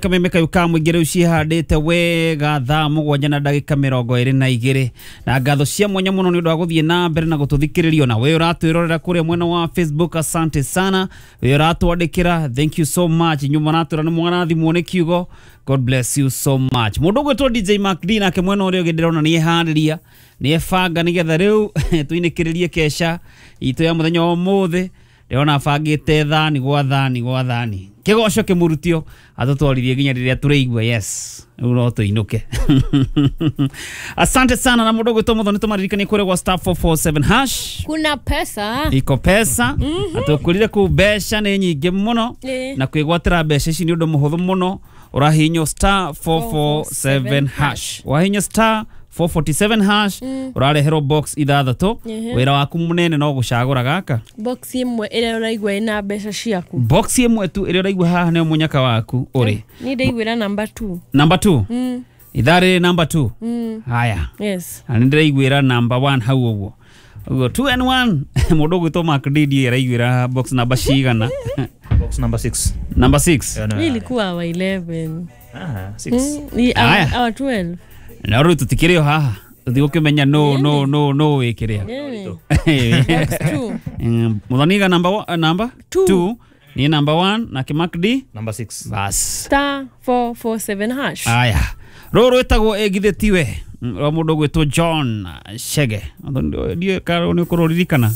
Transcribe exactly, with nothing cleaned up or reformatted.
Kameme kayu ka mũingĩ rĩu ciĩhandĩte wega thaa mũgwanja na ndagĩka mĩrongo ĩrĩ na igĩrĩ, na ngatho cia mwanya mũno nĩ ũndũ wa gũthiĩ na mbere na gũtũthikĩrĩria. Na we ũratwĩrorera kũrĩa mwena wa Facebook, asante sana. We ũratwandĩkĩra, thank you so much. Inyuĩ mũratwĩra nĩ mwarathimwo nĩ kiugo, God bless you so much. Mũndũ ũgwĩtwo D J Mark D nake mwena ũrĩa ũngĩ ndĩrona nĩ eharĩria, nĩ ebanga nĩgetha rĩu tũinĩkĩrĩrie kesha itũ ya mũthenya wa ũmũthĩ. Ndĩrona abangĩte thani gwa thani gwa thani, kĩgoco kĩmũrutio atũtwarithie nginya rĩrĩa tũrĩigua yes, rĩu no tũinũke. Asante sana. Na mũndũ ũgwĩtwo Mũthoni, tũmaririkanie kũrĩa gwa star four four seven hash kuna pesa, iko pesa. mm -hmm. Atũkwĩrire kũu mbeca nĩ nyingĩ mũno, e. na kwĩgwatĩra mbeca ici nĩ ũndũ mũhũthũ mũno. Ũrahihinywo star four four seven hash, wahihinya star four forty-seven hash, ũrareherwo box ithathatũ. Wĩra waku mũnene no gũcagũra gaka box ĩmwe ĩrĩa ũraigua ĩna mbeca ciaku, box ĩmwe tu ĩrĩa ũraigua haha nĩyo mũnyaka waku ũrĩ. Ni ndaiguĩra number two. Number two? Mm. Ithaa rĩrĩ number two? Mm. Haya. Yes. Na nĩ ndĩraiguĩra number one hau ũguo. Ũguo two and one. Mũndũ ũgwĩtwo Mark D D araiguĩra box number cigana? Box number six. Number six? Hii ilikuwa wa eleven. Ah, six. Mm, our twelve. Na rĩu tũtikĩrĩ o haha tũthiĩ gũkĩmenya no no no no wĩkĩrĩa. Mũthoniga number number two, ni number one, na Mark D number six. Bas. Star four four seven hash. Aya. Rũrũ rwĩtagwo ĩgithĩ tiwe rwa mũndũ ũgwĩtwo John Chege. Ndiũĩ kana nĩ ũkũrũririkana.